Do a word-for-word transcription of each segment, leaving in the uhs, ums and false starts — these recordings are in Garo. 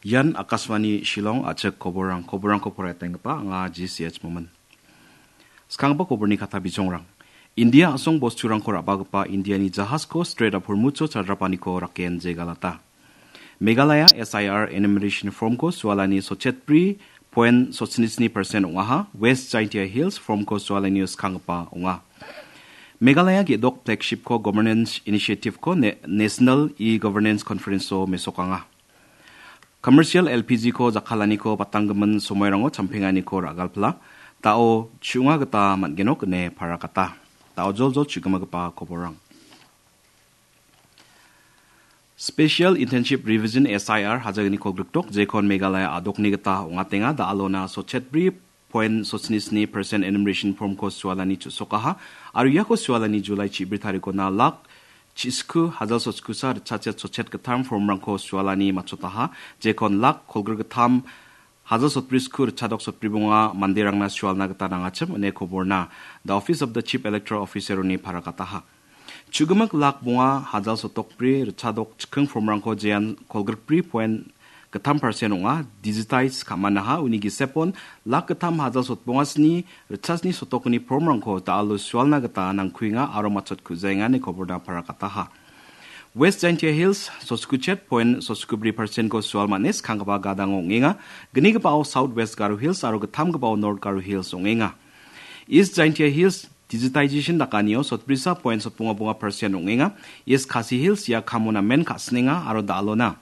Ian Akashvani Shillong a·chik koborrang, koborrangko poraitenggipa anga G C H Momin. Skanggipa koborni kata bijongrang. India a·song bosturangko ra·bagipa Indiani jahasko Strait of Hormuzcho chadrapaniko raken jegalata. Meghalaya S I R enumeration formko sualani sotchetbri point sotchini sni percent ong·aha, West Jaintia Hills formko sualanio skanggipa ong·a. Meghalaya ge·dok flagshipko governance initiativeko ne-, National E-Governance Conferenceo mesokanga. Commercial L P Gko jakkalaniko batanggimin somoirango champenganiko ra·galpila, da·o chu·nga gita man·genok ine parakata. Da·o joljol chu·gimagipa koborrang. Special Intensive Revision S I R hajalgniko grikdok jekon Meghalaya a·dokni gita ong·atenga, da·alona sotchetbri point sotchini sni percent enumeration formko sualani chu·sokaha, aro iako sualani July chibri tarikona lak chisku hajal sotchkusa ritchachet sotchet gittam formrangko sualani matchotaha, jekon lak kolgrik gittam hajal sotbri sku ritchadok sotbri bonga manderangna sualna gita nangachim ine koborna The Office of the Chief Electoral Officeroni parakataha. Chu·gimik lak bonga hajal sotokbri ritchadok chikking formrangko jean kolgrikbri point gittam percent ong·a, digitize ka·manaha, uni gisepon lak gittam hajal sotbonga sni ritchasni sotokni formrangko da·alo sualna gita nangkuenga aro matchot ku·jaenga ine koborna parakataha. West Jaintia Hills sotchkuchet point sotchkubri percentko sual man·e skanggipa gadango ong·enga. Gnigipao South West Garo Hills aro gittamgipao North Garo Hills ong·enga. East Jaintia Hills digitization dakanio sotbrisa point sotbonga bonga percent ong·enga. East Khasi Hills ia kamo namen ka·sinenga aro da·alona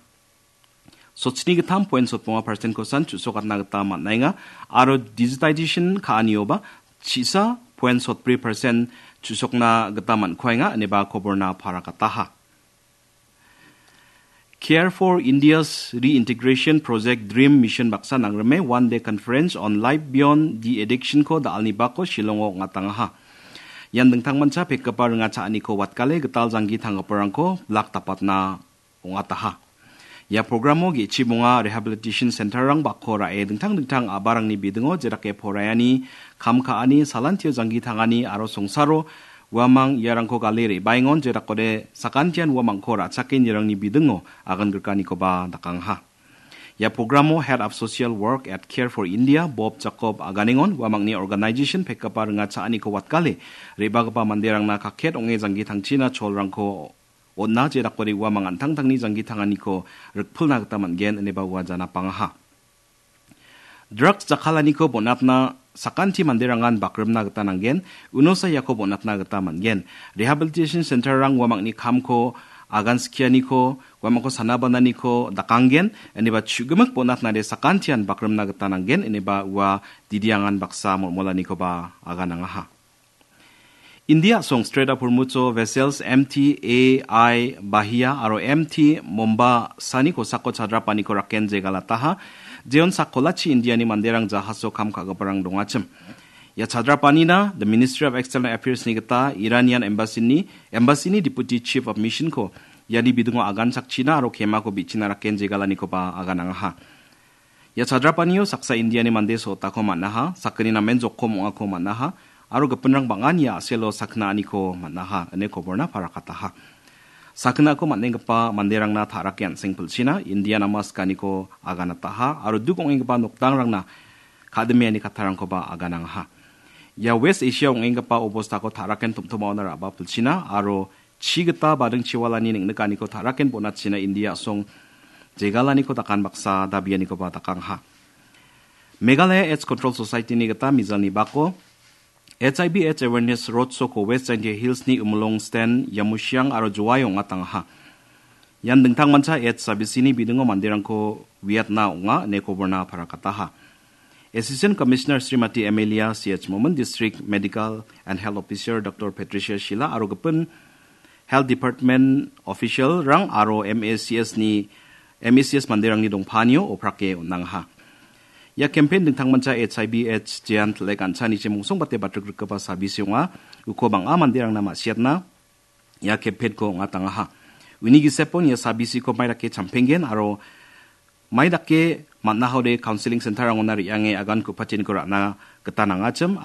sotchini gittam point sotbonga percentkosan chu·sokatna gita man·enga aro digitization ka·anioba chisa point sotbri percent chu·sokna gita man·kuaenga ineba koborna parakataha. Care for India's Reintegration Project Dream Mission baksa nangrime One Day Conference on Life Beyond the Addictionko da·alni bako Shillongo ong·atangaha. Ian dingtangmancha pekgipa ringa cha·aniko watgale gital janggi tanggiparangko blak dapatna ong·ataha. Ia programo ge·chibonga rehabilitation centerrang bako ra·e dingtang dingtang a·barangni bidingo jedake poraiani, kam ka·ani, salantio janggi tangani aro songsaro uamang iarangko gale re·baengon jedakode sakantian uamangko ra·chake nirangni bidingo agan grikanikoba dakangaha. Ia programo Head of Social Work at Care for India, Bob Jacob aganengon uamangni organization pekgipa ringa cha·aniko watgale re·bagipa manderangna kaket ong·e janggi tangchina cholrangko on·a, jedakode uamang an·tangtangni janggi tanganiko rikpilna gita man·gen ineba ua janapangaha. Drugs jakkalaniko bonatna sakanti manderangan bakrimna gita nanggen, unosa iako bonatna gita man·gen. Rehabilitation centerrang uamangni kamko agan skianiko, uamangko sana bananiko dakanggen, ineba chu·gimik bonatnade sakantian bakrimna gita nanggen, ineba ua didiangan baksa molmolanikoba aganangaha. India a·song Strait of Hormuzcho vessels M T A I Bahia aro M T Mombasani kosako chadrapaniko raken jegalataha, jeon sakkolachi Indiani manderang jahaso kam ka·giparang dongachim. Ia chadrapanina The Ministry of External Affairsni gita Iranian Embassy-ni, Embassy-ni Deputy Chief of Missionko iani bidingo agan chakchina aro kemako bi·china raken jegalanikoba aganangaha. Ia chadrapanio saksa Indiani mande sotako man·aha, sakgni namen jokkom ong·ako man·aha, aro gipinrang bang·an ia a·selo sakna aniko man·aha, ine koborna parakataha. Saknako man·enggipa manderangna ta·rake an·seng pilchina, Indian ama sikaniko aganataha, aro duk ong·enggipa nokdangrangna kadimiani kattarangkoba aganangaha. Ia West Asia ong·enggipa obostako ta·raken tom·tomaona ra·ba pilchina, aro chi gita bading chiwalani neng·nikaniko ta·raken bonatchina India a·song jegalaniko dakan baksa dabianikoba dakangaha. Meghalaya AIDS Control Society-ni gita mijalni bako H I V AIDS Awareness Road Show-ko West Jaintia Hills-ni Umlong Sten, Yamusiang aro Jowai ong·atangaha. Ian dingtangmancha AIDS sabisini bidingo manderangko uiatna ong·a ine koborna parakataha. Assistant Commissioner Srimati Amelia C H Momin, District Medical and Health Officer Doctor Patricia Shila aro gipin Health Department official-rang aro M A C S-ni, M A C S manderangni dongpanio oprake on·angaha. Ia campaign dingtangmancha H I V AIDS jean tilek an·chanichi mongsombate batrikgrikgipa sabisi ong·a. Uko bang·a manderangna ma·siatna ia campaign-ko ong·atangaha. Uni gisepon ia sabisiko maidake champenggen aro maidake man·ahode counseling center-rangona re·ange agan ku·pateniko ra·na gita nangachim.